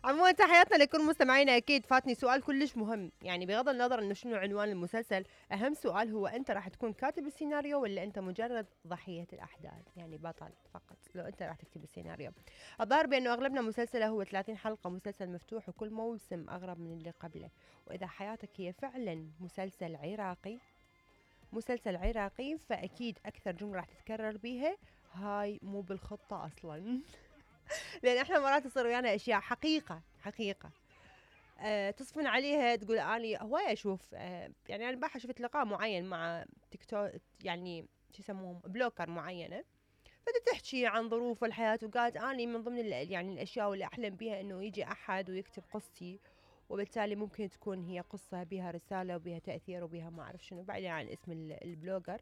عموما تحياتنا لكل مستمعينا. اكيد فاتني سؤال كلش مهم، يعني بغض النظر انه شنو عنوان المسلسل، اهم سؤال هو انت راح تكون كاتب السيناريو ولا انت مجرد ضحية الاحداث، يعني بطل فقط لو انت راح تكتب السيناريو. الظاهر بانه اغلبنا مسلسله هو 30 حلقة، مسلسل مفتوح وكل موسم اغرب من اللي قبله. واذا حياتك هي فعلا مسلسل عراقي فاكيد اكثر جملة راح تتكرر بيها هاي مو بالخطة اصلا. لان احنا مرات تصير ويانا اشياء حقيقة تصفن عليها تقول اني هواي اشوف يعني انا بحر شفت لقاء معين مع تيك توك، يعني شو يسموهم بلوكر معينة، فتحكي عن ظروف الحياة وقالت اني من ضمن يعني الاشياء اللي احلم بها انه يجي احد ويكتب قصتي، وبالتالي ممكن تكون هي قصة بها رسالة وبها تأثير وبها ما اعرف شنو بعيدا عن اسم البلوجر.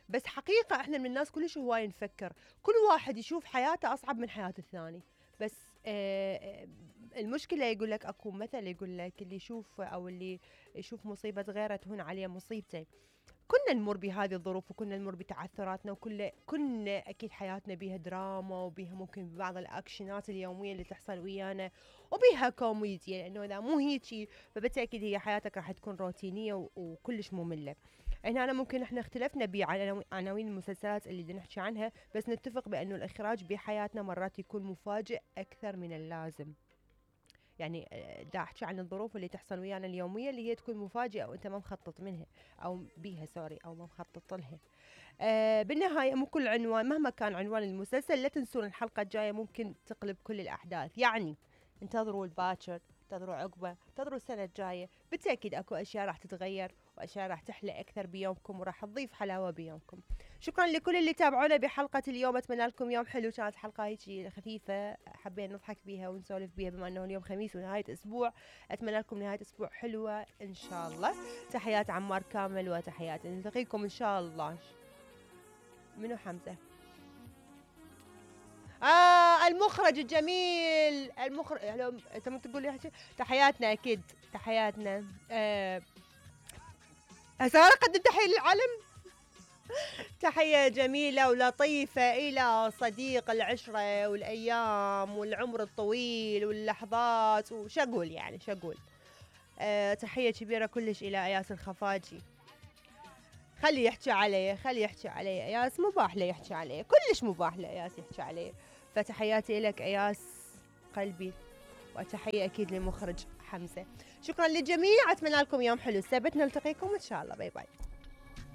بس حقيقة احنا من الناس كلش هواي نفكر، كل واحد يشوف حياته اصعب من حياة الثاني. بس المشكلة يقول لك اكو مثل يقول لك اللي يشوف او اللي يشوف مصيبة غيره تهون عليه مصيبته. كنا نمر بهذه الظروف وكنا نمر بتعثراتنا كنا اكيد حياتنا بيها دراما وبيها ممكن بعض الاكشنات اليوميه اللي تحصل ويانا وبيها كوميديا، لانه اذا مو هيجي فبالتاكيد هي حياتك راح تكون روتينيه وكلش ممله. هنا أنا ممكن احنا اختلفنا بعناوين المسلسلات اللي بدنا نحكي عنها، بس نتفق بانه الاخراج بحياتنا مرات يكون مفاجئ اكثر من اللازم. يعني دا احكي عن الظروف اللي تحصل ويانا اليوميه اللي هي تكون مفاجئه وانت ما مخطط منها او بيها سوري او ما مخطط لها. بالنهايه مو كل عنوان مهما كان عنوان المسلسل لا تنسون الحلقه الجايه ممكن تقلب كل الاحداث، يعني انتظروا الباكر، انتظروا عقبه، انتظروا السنه الجايه، بالتاكيد اكو اشياء راح تتغير واشياء راح تحلى اكثر بيومكم وراح تضيف حلاوه بيومكم. شكرا لكل اللي تابعونا بحلقه اليوم، اتمنى لكم يوم حلو. كانت حلقه هيك خفيفه حبينا نضحك بيها ونسولف بيها بما انه اليوم خميس ونهايه اسبوع. اتمنى لكم نهايه اسبوع حلوه ان شاء الله. تحيات عمار كامل وتحيات، نلتقيكم ان شاء الله. منو حمزه؟ المخرج الجميل، المخرج انت ما تقول لي تحياتنا اكيد تحياتنا. هسه انا اقدم تحيه للعالم. تحية جميلة ولطيفة إلى صديق العشرة والأيام والعمر الطويل واللحظات وشقول يعني شقول. تحية كبيرة كلش إلى أياس الخفاجي. خلي يحكي علي أياس، مباح له يحكي علي، كلش مباح له أياس يحكي علي. فتحياتي لك أياس قلبي، وتحية أكيد للمخرج حمزة. شكرا للجميع، أتمنى لكم يوم حلو. السبت نلتقيكم إن شاء الله. باي باي.